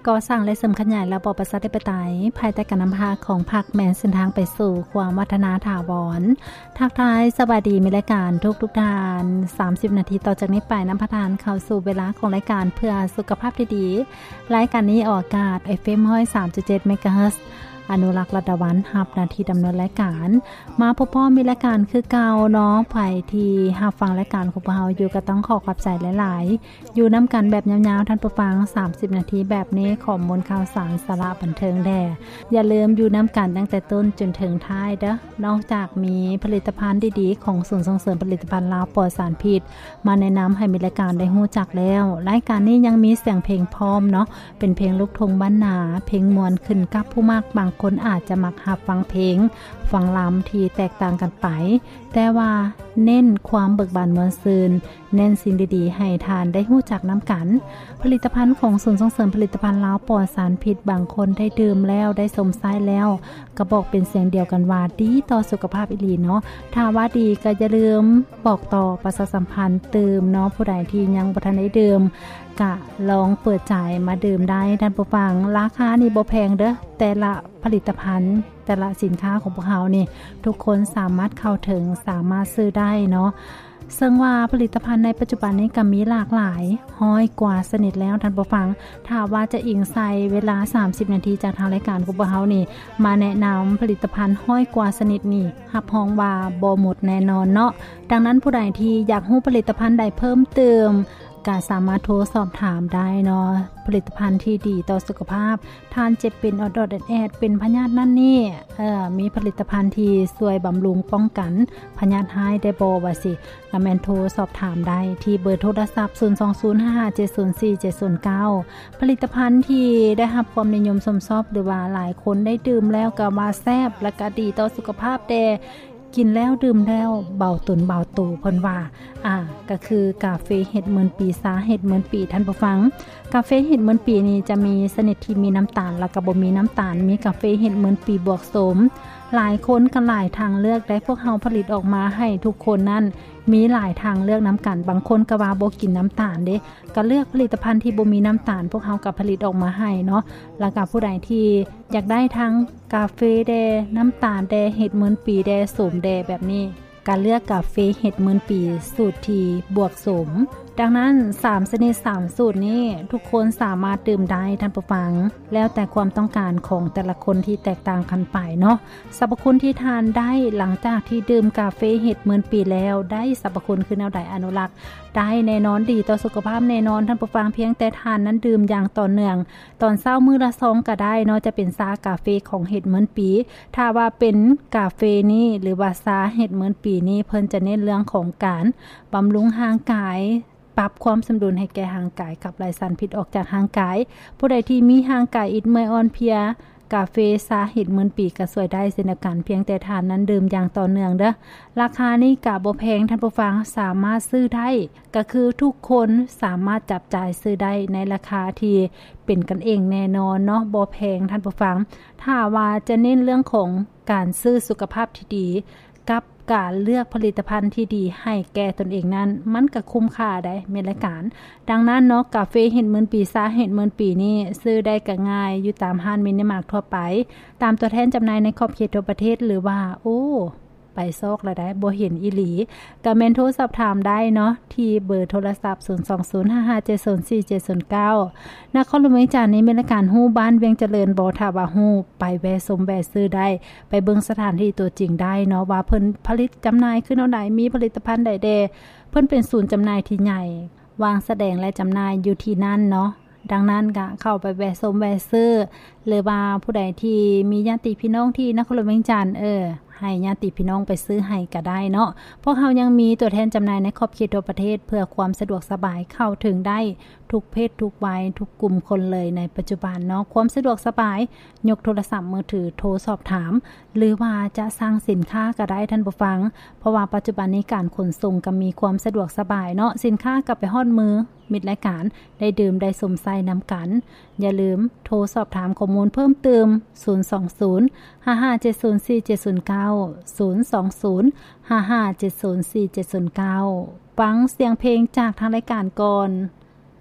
ກໍ່ສ້າງ ແລະ ເສີມຂະຫຍາຍລະບອບປະຊາທິປະໄຕ ພາຍໃຕ້ການນຳພາຂອງພັກ ແມ່ນເສັ້ນທາງໄປສູ່ຄວາມວັດທະນາຖາວອນ. ທັກທາຍສະບາຍດີມິດລາຍການທຸກໆທ່ານ. ສາມສິບນາທີຕໍ່ຈາກນີ້ໄປ ນຳພາທ່ານເຂົ້າສູ່ເວລາຂອງລາຍການເພື່ອສຸຂະພາບທີ່ດີ. ລາຍການນີ້ອອກອາກາດ ເອັຟເອັມ ຮ້ອຍສາມຈຸດເຈັດ ເມກາເຮີດ. ອະນຸລັກ ລັດດາວັນ ຮັບໜ້າທີ່ດຳເນີນລາຍການ. ມາພົບພໍ້ມີລາຍການຄືເກົ່າເນາະ. ໃຜທີ່ຮັບຟັງລາຍການຂອງພວກເຮົາຢູ່ ກໍຕ້ອງຂໍຂອບໃຈຫຼາຍໆ. ຢູ່ນຳກັນແບບຍາວໆ ທ່ານຜູ້ຟັງ ສາມສິບນາທີແບບນີ້ ຂໍ້ມູນຂ່າວສານ ສາລະບັນເທີງແດ່. ຢ່າລືມຢູ່ນຳກັນຕັ້ງແຕ່ຕົ້ນຈົນເຖິງທ້າຍເດີ້. ນອກຈາກມີຜະລິດຕະພັນດີໆຂອງສູນສົ່ງເສີມຜະລິດຕະພັນລາວປອດສານພິດ ມາແນະນຳໃຫ້ມິດລາຍການໄດ້ຮູ້ຈັກແລ້ວ, ລາຍການນີ້ຍັງມີສຽງເພງພ້ອມເນາະ, ເປັນເພງລູກທົ່ງບ້ານນາ, ເພງມ່ວນຂຶ້ນກັບຜູ້ມັກ. ບາງຄົນອາດຈະມັກຮັບຟັງເພງ, ຟັງລຳທີ່ແຕກຕ່າງກັນໄປ, ແຕ່ວ່າເນັ້ນຄວາມເບີກບານມ່ວນຊື່ນ, ເນັ້ນສິ່ງດີໆໃຫ້ທ່ານໄດ້ຮູ້ຈັກນຳກັນ. ຜະລິດຕະພັນຂອງສູນສົ່ງເສີມຜະລິດຕະພັນລາວປອດສານພິດ, ບາງຄົນໄດ້ດື່ມແລ້ວ, ໄດ້ຊົມໃຊ້ແລ້ວ, ກໍບອກເປັນສຽງດຽວກັນວ່າດີຕໍ່ສຸຂະພາບອີ່ຫຼີເນາະ. ຖ້າວ່າດີກໍຢ່າລືມບອກຕໍ່, ປະຊາສຳພັນຕື່ມເນາະ. ຜູ້ໃດທີ່ຍັງບໍ່ທັນໄດ້ດື່ມ ກະລອງເປີດໃຈມາດື່ມໄດ້, ທ່ານຜູ້ຟັງ. ລາຄານີ້ບໍ່ແພງເດີ້, ແຕ່ລະຜະລິດຕະພັນ, ແຕ່ລະສິນຄ້າຂອງພວກເຮົານີ້ ທຸກຄົນສາມາດເຂົ້າເຖິງ, ສາມາດຊື້ໄດ້ເນາະ. ເຊິ່ງວ່າຜະລິດຕະພັນໃນປັດຈຸບັນນີ້ກໍມີຫຼາກຫຼາຍຮ້ອຍກວ່າຊະນິດແລ້ວ, ທ່ານຜູ້ຟັງ. ຖ້າວ່າຈະອີງໃສ່ເວລາສາມສິບນາທີຈາກທາງລາຍການຂອງພວກເຮົານີ້ ມາແນະນຳຜະລິດຕະພັນຮ້ອຍກວ່າຊະນິດນີ້, ຮັບຮອງວ່າບໍ່ໝົດແນ່ນອນເນາະ. ດັ່ງນັ້ນ ຜູ້ໃດທີ່ຢາກຮູ້ຜະລິດຕະພັນໃດເພີ່ມເຕີມ ກໍສາມາດໂທສອບຖາມໄດ້ເນາະ. ຜະລິດຕະພັນທີ່ດີຕໍ່ສຸຂະພາບ, ທ່ານເຈັບເປັນອອດໆແອດໆ ເປັນພະຍາດນັ້ນນີ້, ເອີ ມີຜະລິດຕະພັນທີ່ຊ່ວຍບຳລຸງປ້ອງກັນພະຍາດຮ້າຍໄດ້ບໍ່ ວ່າຊີ້, ກໍແມ່ນໂທສອບຖາມໄດ້ທີ່ເບີໂທລະສັບ ສູນສອງສູນ ຫ້າຫ້າເຈັດສູນສີ່ເຈັດສູນເກົ້າ. ຜະລິດຕະພັນທີ່ໄດ້ຮັບຄວາມນິຍົມຊົມຊອບ ຫຼືວ່າຫຼາຍຄົນໄດ້ດື່ມແລ້ວກໍວ່າແຊບ ແລະກໍດີຕໍ່ສຸຂະພາບແດ່, ກິນແລ້ວດື່ມແລ້ວເບົາຕົນເບົາໂຕ ເພິ່ນວ່າ. ອາ ກໍຄືກາເຟເຫັດໝື່ນປີ, ຊາເຫັດໝື່ນປີ, ທ່ານຜູ້ຟັງ. ກາເຟເຫັດໝື່ນປີນີ້ຈະມີຊະນິດທີ່ມີນ້ຳຕານ ແລະກໍບໍ່ມີນ້ຳຕານ, ມີກາເຟເຫັດໝື່ນປີບວກໂສມ. ຫຼາຍຄົນກໍຫຼາຍທາງເລືອກໄດ໋, ພວກເຮົາຜະລິດອອກມາໃຫ້ທຸກຄົນນັ້ນມີຫຼາຍທາງເລືອກນຳກັນ. ບາງຄົນກໍວ່າບໍ່ກິນນ້ຳຕານເດ້, ກໍເລືອກຜະລິດຕະພັນທີ່ບໍ່ມີນ້ຳຕານ, ພວກເຮົາກໍຜະລິດອອກມາໃຫ້ເນາະ. ແລ້ວກໍຜູ້ໃດທີ່ຢາກໄດ້ທັງກາເຟແດ່, ນ້ຳຕານແດ່, ເຫັດໝື່ນປີແດ່, ໂສມແດ່ ແບບນີ້, ກໍເລືອກກາເຟເຫັດໝື່ນປີສູດທີ່ບວກໂສມ. ດັ່ງນັ້ນ ສາມຊະນິດ, ສາມສູດນີ້ ທຸກຄົນສາມາດດື່ມໄດ້, ທ່ານຜູ້ຟັງ, ແລ້ວແຕ່ຄວາມຕ້ອງການຂອງແຕ່ລະຄົນທີ່ແຕກຕ່າງກັນໄປເນາະ. ສັບພະຄຸນທີ່ທ່ານໄດ້ຫຼັງຈາກທີ່ດື່ມກາເຟເຫັດໝື່ນປີແລ້ວ ໄດ້ສັບພະຄຸນຄືແນວໃດ? ອະນຸລັກໄດ້ແນ່ນອນ, ດີຕໍ່ສຸຂະພາບແນ່ນອນ, ທ່ານຜູ້ຟັງ. ພຽງແຕ່ທ່ານນັ້ນດື່ມຢ່າງຕໍ່ເນື່ອງ, ຕອນເຊົ້າມື້ລະຊອງກໍໄດ້ເນາະ, ຈະເປັນຊາກາເຟຂອງເຫັດໝື່ນປີ. ຖ້າວ່າເປັນກາເຟນີ້ ຫຼືວ່າຊາເຫັດໝື່ນປີນີ້, ເພິ່ນຈະເນັ້ນເລື່ອງຂອງການບຳລຸງຮ່າງກາຍ, ປັບຄວາມສົມດຸນໃຫ້ແກ່ຮ່າງກາຍ, ຂັບໄລ່ສານພິດອອກຈາກຮ່າງກາຍ. ຜູ້ໃດທີ່ມີຮ່າງກາຍອິດເມື່ອຍອ່ອນເພຍ, ກາເຟຊາເຫັດໝື່ນປີກໍຊ່ວຍໄດ້ເຊັ່ນດຽວກັນ, ພຽງແຕ່ທ່ານນັ້ນດື່ມຢ່າງຕໍ່ເນື່ອງເດີ້. ລາຄານີ້ກໍບໍ່ແພງ, ທ່ານຜູ້ຟັງ, ສາມາດຊື້ໄດ້, ກໍຄືທຸກຄົນສາມາດຈັບຈ່າຍຊື້ໄດ້ໃນລາຄາທີ່ເປັນກັນເອງແນ່ນອນເນາະ, ບໍ່ແພງ, ທ່ານຜູ້ຟັງ. ຖ້າວ່າຈະເນັ້ນເລື່ອງຂອງການຊື້ສຸຂະພາບທີ່ດີ ກັບການເລືອກຜະລິດຕະພັນທີ່ດີໃຫ້ແກ່ຕົນເອງນັ້ນ, ມັນກໍຄຸ້ມຄ່າໄດ໋, ແມ່ນລະການ. ດັ່ງນັ້ນເນາະ, ກາເຟເຫັດໝື່ນປີ, ຊາເຫັດໝື່ນປີນີ້ ຊື້ໄດ້ກໍງ່າຍຢູ່ຕາມຮ້ານມິນິມາດທົ່ວໄປ, ຕາມຕົວແທນຈຳໜ່າຍໃນຂອບເຂດທົ່ວປະເທດ ຫຼືວ່າ ໂອ້ ໄປຊອກລະໄດ້ ບໍ່ເຫັນອີ່ຫຼີ, ກໍແມ່ນໂທສອບຖາມໄດ້ເນາະ ທີ່ເບີໂທລະສັບ ສູນສອງສູນ ຫ້າຫ້າເຈັດສູນສີ່ເຈັດສູນເກົ້າ. ນະຄອນຫຼວງວຽງຈັນນີ້ ແມ່ນລະການຮູ້ບ້ານວຽງຈະເລີນບໍ່? ຖ້າວ່າຮູ້, ໄປແວ່ຊົມແວ່ຊື້ໄດ້, ໄປເບິ່ງສະຖານທີ່ຕົວຈິງໄດ້ເນາະ ວ່າເພິ່ນຜະລິດຈຳໜ່າຍຄືແນວໃດ, ມີຜະລິດຕະພັນໃດແດ່. ເພິ່ນເປັນສູນຈຳໜ່າຍທີ່ໃຫຍ່, ວາງສະແດງ ແລະ ຈຳໜ່າຍຢູ່ທີ່ນັ້ນເນາະ. ດັ່ງນັ້ນກະເຂົ້າໄປແວ່ຊົມແວ່ຊື້ ຫຼືວ່າຜູ້ໃດທີ່ມີຍາດຕິພີ່ນ້ອງທີ່ນະຄອນຫຼວງວຽງຈັນ, ເອີ ໃຫ້ຍາດຕິພີ່ນ້ອງໄປຊື້ໃຫ້ກະໄດ້ເນາະ. ພວກເຮົາຍັງມີຕົວແທນຈຳໜ່າຍໃນຂອບເຂດທົ່ວປະເທດ ເພື່ອຄວາມສະດວກສະບາຍ, ເຂົ້າເຖິງໄດ້ທຸກເພດທຸກໄວ, ທຸກກຸ່ມຄົນເລີຍໃນປັດຈຸບັນເນາະ. ຄວາມສະດວກສະບາຍ, ຍົກໂທລະສັບມືຖືໂທສອບຖາມ ຫຼືວ່າຈະສັ່ງສິນຄ້າກໍໄດ້, ທ່ານຜູ້ຟັງ, ເພາະວ່າປັດຈຸບັນນີ້ການຂົນສົ່ງກໍມີຄວາມສະດວກສະບາຍເນາະ, ສິນຄ້າກໍໄປຮອດມືມິດລາຍການ, ໄດ້ດື່ມໄດ້ຊົມໃຊ້ນຳກັນ. ຢ່າລືມໂທສອບຖາມຂໍ້ມູນເພີ່ມເຕີມ ສູນສອງສູນ ຫ້າຫ້າເຈັດສູນສີ່ເຈັດສູນເກົ້າ, ສູນສອງສູນ ຫ້າຫ້າເຈັດສູນສີ່ເຈັດສູນເກົ້າ. ຟັງສຽງເພງຈາກທາງລາຍການກ່ອນ.